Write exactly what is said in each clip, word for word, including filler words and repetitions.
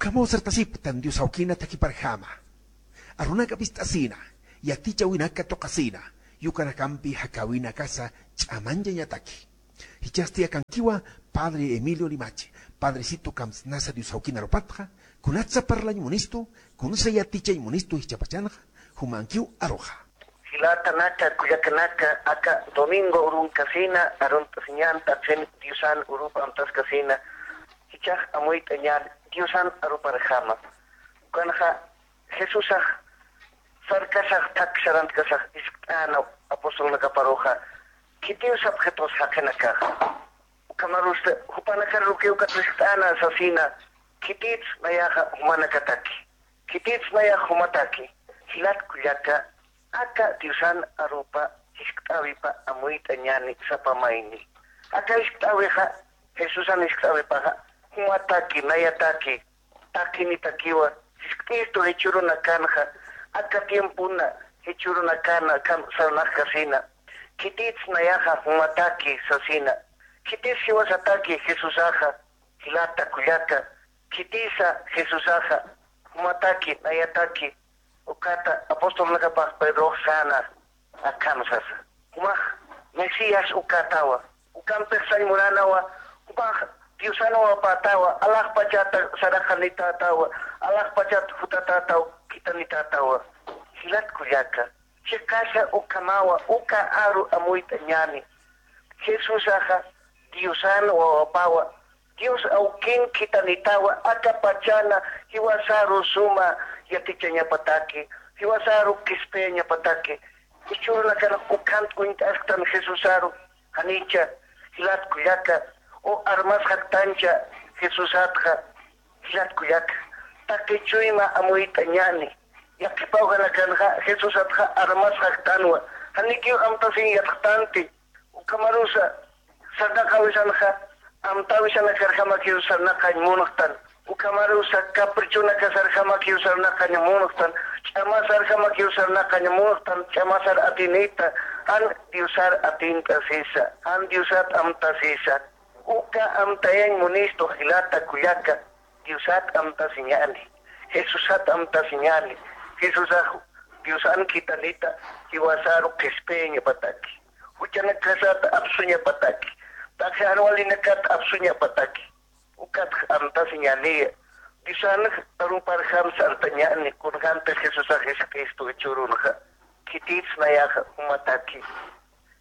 Ukhamaw sartasipktan Dios awkina thakiparjama. Arunaka pist'asina, yatichäwinaka tuqasina, yukanakampi jakäwinakasa ch'amañchañataki. Jichhasti akankiwa Padre Emilio Limachi, Padrecito kamsnasa Dios awkin arupatxa, kunatsa parlañ munistu, kunsa yatichañ munistu jichhapachanxa, jumankiw aruxa. Jilatanaka, kullakanaka, aka domingo urunkasina, arunt'asiñan taqin Diosan urup amtaskasina, jichhax amuyt'añan Diosan aruparjama. Ukanxa Jesusax sarkasax thak sarantkasax jiskt'äna apostolnakaparuxa, khitiw sapxitu jaqinakaxa. Ukhamarus jupanakar ukat jiskt'äna sasina, khitits nayaxa jumanakataki, khitits nayax jumataki. Jilat kullaka, aka Diosan arupa jiskt'äwipa amuyt'añäni sapa mayni. Aka jiskt'äwixa, Jesusan jiskt'äwipaxa, jumataki, nayataki, taqinitakiwa, jiskt'istu jichhürunakanxa, aka tiempona jichhürunakana, kam sarnaqkasina, khitits nayaxa jumataki sasina, khitis jiwasataki Jesusaxa, jilata kullaka, khitisa Jesusaxa, jumataki, nayataki, ukata apostolnakapax Pedrox säna, akham sasa. Jumax Mesías ukatawa. Ukampix sañ munanawa, jumax Diosan wawapätawa, alaxpachata saraqanitätawa, alaxpachat jutatätaw, khitanitätawa. Jilat kullaka, chiqasa ukhamawa, uka aru amuyt'añäni. Jesusaxa Diosan wawapawa, Dios awkin khitanitawa, aka pachana jiwasaru suma yatichañapataki, jiwasaru qhispiyañapataki. Jichhürunakanx ukhant uñt'asktan Jesusaru, janicha, jilat kullaka, o armasxaktancha Jesusatxa, jilat kullaka, taqi chuyma amuyt'añäni. Yaqhip awjanakanxa Jesusatxa armasxaktanwa, janikiw amtasiñ yatxtanti. Ukhamarusa sarnaqäwisanxa, amtäwisanakarjamakiw sarnaqañ munxtan. Ukhamarusa caprichonakasarjamakiw sarnaqañ munxtan. Ch'amasarjamakiw sarnaqañ munxtan. Ch'amasar atinita, jan Diosar atint'asisa, jan Diosat amtasisa. Uka amtayañ munistu jilata kullaka. Diosat amtasiñäni, Jesusat amtasiñäni, Jesusax Diosan khitanita, jiwasaru qhispiyañapataki, juchanakasat apsuñapataki, taqi jan walinakat apsuñapataki, ukatx amtasiñäniya. Diosanx aruparjam sartañäni, kunjämtix Jesusax Jesucristo jichhürunxa, khitits nayaxa jumataki,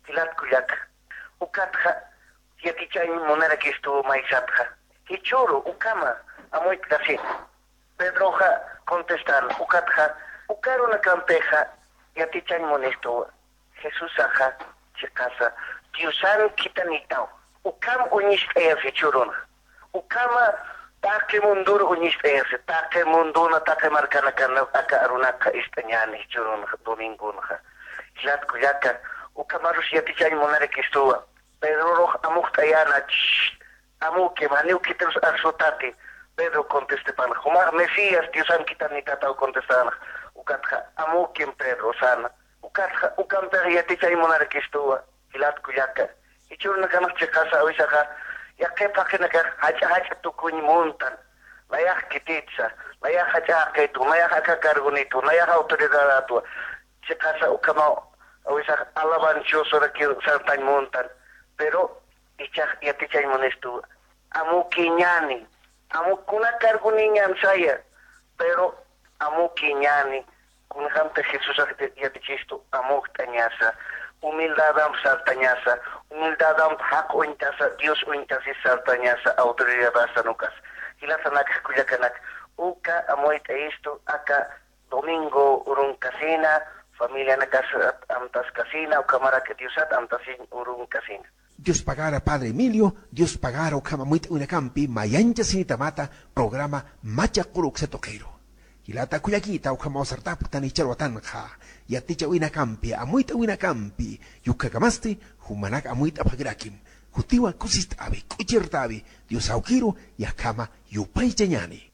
jilat kullaka, ukatxa yatichañ munarakistu maysatxa. Jichhüru ukhama amuyt'kasina. Pedroxa contestan, ukatxa, uka arunakampixa yatichañ munistuwa. Jesusaxa chiqasa, Diosan khitanitaw. Ukham uñist'ayas jichhürunxa. Ukhama taqi mundor uñist'ayas, taqi mundona, taqi markanakan aka arunakxa ist'añäni jichhürunxa, domingonxa. Jilat kullaka, ukhamarus yatichañ munarakistuwa. Pedrorux amükt'ayäna, "Shh, amükim, janiw khitirus arsutati." Pedro contestipan, "Jumax Mesías, Diosan khitanitataw", contestänxa. Ukatxa, "Amükim, Pedro", säna. Ukatxa, ukampix yatichañ munarakistuwa, jilat kullaka. Jichhürunakanx chiqasa awisaxa, yaqhip jaqinakax jach'a jach'a tukuñ muntan. Nayax khititsa, nayax jach'a jaqitu, nayax aka cargonitwa, nayax autoridadatwa. Chiqasa ukhamaw awisax alabanchosorakiw sartañ muntan. Pero ichax yatichañ munistu, amükiñäni, amü kuna cargoniñan saya, pero amükiñäni, kunjämtix Jesusax yatichistu amükt'añasa, humildadamp sartañasa, humildadamp jaq uñtasa, Dios uñtasis sartañasa, autoridadasan ukas. Jilatanakxa kullakanaka, uka amuyt'ayistu aka domingo urunkasina, familianakasat amtaskasina, ukhamarak Diosat amtasiñ urunkasina. Dios pagara Padre Emilio, Dios pagara ukham amuyt'awinakampi mayanchasinitamata programa Machaq Quru uksa tuqiru. Jilata kullakita, ukhamaw sartapktan jichhar watanxa, yatichäwinakampi, amuyt'awinakampi, yukhakamasti jumanak amuyt'apxakirakim. Jutiwa kusist'awi, k'uchirt'awi, Dios awkiru, yaqhama yupaychañäni.